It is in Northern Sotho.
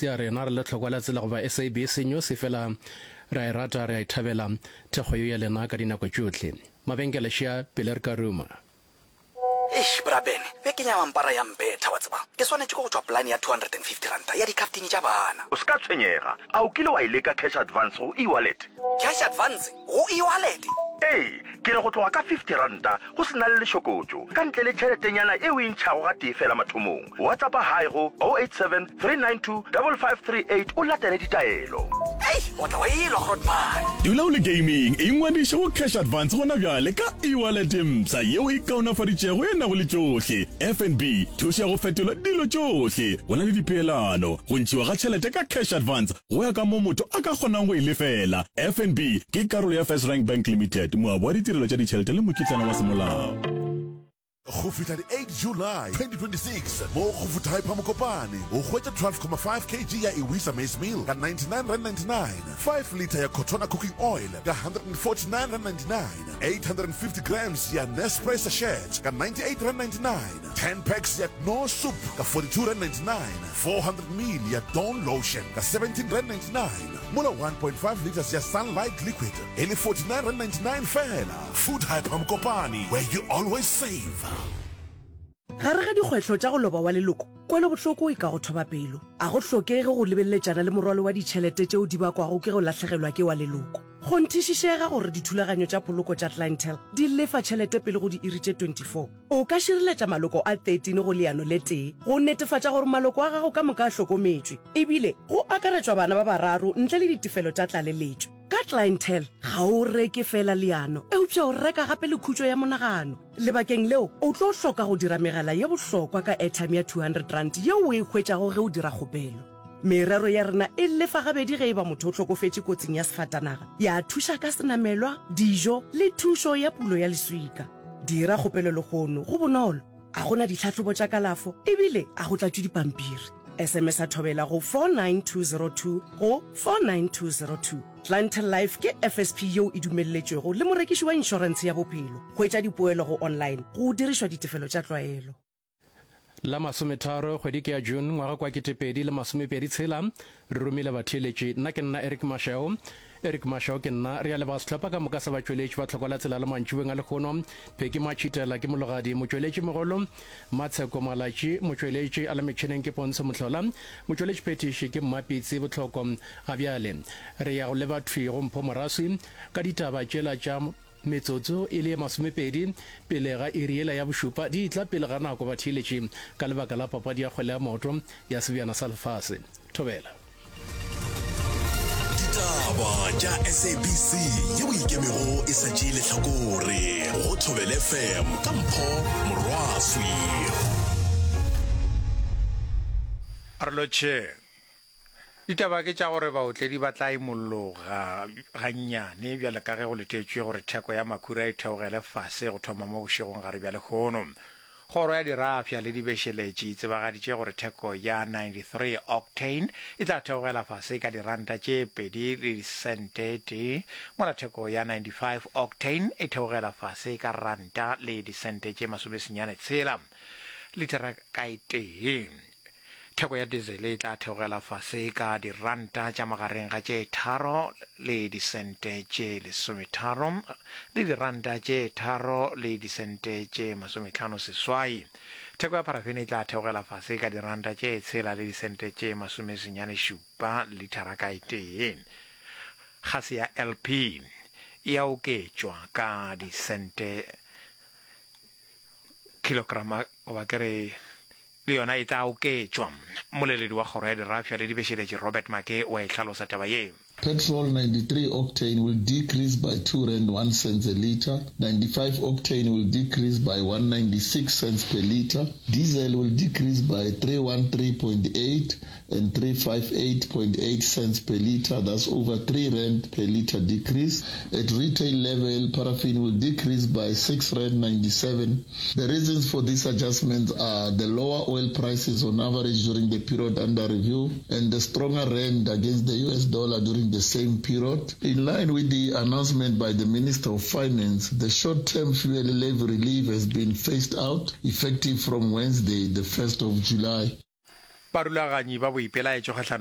se ya rena re le tlhokwa la tsela goba SABC News efela re a e rata re a e thabela thekgo yeo ya lena ka dinako tšohle. Mabenkele šea pele re ka ruma. Eish, Bra Ben, bekeng ya mampara ya mpetha, wa tseba. Ke swanetše ke go tšwa polane ya R250 ya dikhaftini tša bana. O se ka tshwenyega. A o kile wa e leka cash advance go e-wallet? Cash advance go e-wallet? Ee, ke re go tloga ka R50 go se na le lešokotšo, ka ntle le tšheletenyana e o e ntšhago gatee feela mathomong. WhatsAppa Hi go 087 392 5538 o latele ditaelo. Ei, o tla wa elwa, Grootman. Dula o le gaming, ingwadiše go Cash Advance gona bjale ka e-wallet e mpsha yeo e kaonafaditšego e nago le tšohle. FNB, thušo ya go fetola dilo tšohle. Go na le dipeelano, go ntšhiwa ga tšhelete ka Cash Advance go ya ka moo motho a ka kgonang go e lefela. FNB ke karolo ya FirstRand Bank Limited, moabi wa ditirelo tša ditšhelete le mokitlana wa semolao. Go fihla di 8 July 2026 mo go Food Hyper Mokopane o hwetša 12,5 kg ya Iwisa maize meal ka R99.99, 5 litre ya Cotona cooking oil ka R149.99, 850 grams ya Nespre sachet ka R98.99, 10 packs ya Knorr soup ka R42.99, 400 ml ya Dawn lotion ka R17.99, mola 1.5 litres ya Sunlight liquid e le R49.99 feela. Food Hyper Mokopane, where you always save. Gare ga dikgwetlho tša go loba wa leloko, kwelobohloko e ka go thoba pelo. A go hlokege go lebeleletšana le morwalo wa ditšhelete tšeo di bakwago ke go lahlegelwa ke wa leloko. Kgonthišišega gore dithulaganyo tša poloko tša Clientele di lefa tšhelete pele go diiri tše 24. O ka šireletša maloko a 13 go leano le tee go netefatša gore maloko a gago ka moka a hlokometšwe, ebile go akaretšwa bana ba bararo ntle le ditefelo tša tlaleletšo. Ka Clientele, ga o reke feela leano, eupša o reka gape le khutšo ya monagano. Lebakeng leo, o tlo hloka go dira megala ye bohlokwa ka airtime ya R200 yeo o e hwetšago ge o dira kgopelo. Merero ya rena e lefa gabedi ge e ba motho o hlokofetše kotsing ya sefatanaga, ya thuša ka senamelwa, dijo le thušo ya pulo ya leswika. Dira kgopelo lehono, go bonolo, ga go na ditlhahlobo tša kalafo ebile ga go tlatšwe dipampiri. SMS-a Thobela go 49202 go 49202. Clientele Life ke FSP yeo e dumelletšwego le morekiši wa inšorentshe ya bophelo. Hwetša dipoelo go online go dirišwa ditefelo tša tlwaelo. La masometharo kgwedi ke ya June ngwaga kwa 2026 re romile batheeletši. Nna ke nna Eric Mashau. Eric Mashau ke nna. Re a leboga sehlopha ka moka sa batšweletši ba Tlhoko la Tsela la mantšiboeng a lehono. Pheki Matšhitela ke mologadi, motšweletši mogolo Matsheko Malatši, motšweletši a le metšhineng ke Pontsho Mohlola, motšweletši phethiši ke Mmapitsi Bohloko. Ga bjale re ya go leba thwi go Mpho Moraswi ka ditaba tšela tša Metsotso e le ye masomepedi pele ga iri yela ya bošupa di etla pele ga nako batheeletši ka lebaka la papadi ya kgwele ya maoto ya Sebjana sa Lefase. Thobela. Ditaba tša SABC yeo e ikemego e sa tšee lehlakore go Thobela FM ka Mpho Morwaswi. Re lotšheng. Ditaba ke tša gore baotledi ba tla imolloga gannyane bjale ka ge go letetšwe gore theko ya makhura e theogele fase go thoma mo bošegong gare bja lehono. Kgoro ya Dirafša le Dibešeletši e tsebagaditše gore theko ya 93 octane e tla theogela fase ka diranta tše pedi le disente tee, mola theko ya 95 octane e theogela fase ka ranta le disente tše masomesenyane tshela litara ka e tee. Theko ya dizele e tla theogela fase ka diranta tša magareng ga tše tharo le disente tše lesometharo le diranta tše tharo le disente tše masometlhano seswai. Theko ya parafene e tla theogela fase ka diranta tše tshela le disente tše masomesenyane šupa lithara ka e tee. Gase ya LP e a oketšwa ka disente kilograma goba ke re le yona e tla oketšwa. Mmoleledi wa Kgoro ya Dirafša le Dibešeletši Robert Maake o a e hlalosa taba ye. Petrol 93 octane will decrease by 2 rand 1 cents a litre, 95 octane will decrease by 196 cents per litre, diesel will decrease by 313.8 and 358.8 cents per litre, that's over 3 rand per litre decrease. At retail level, paraffin will decrease by 6 rand 97. The reasons for these adjustments are the lower oil prices on average during the period under review and the stronger rand against the US dollar during the same period. In line with the announcement by the Minister of Finance, the short-term fuel levy relief has been phased out effective from Wednesday, the 1st of July. Barulaganyi ba boipelaetšo kgahlanong.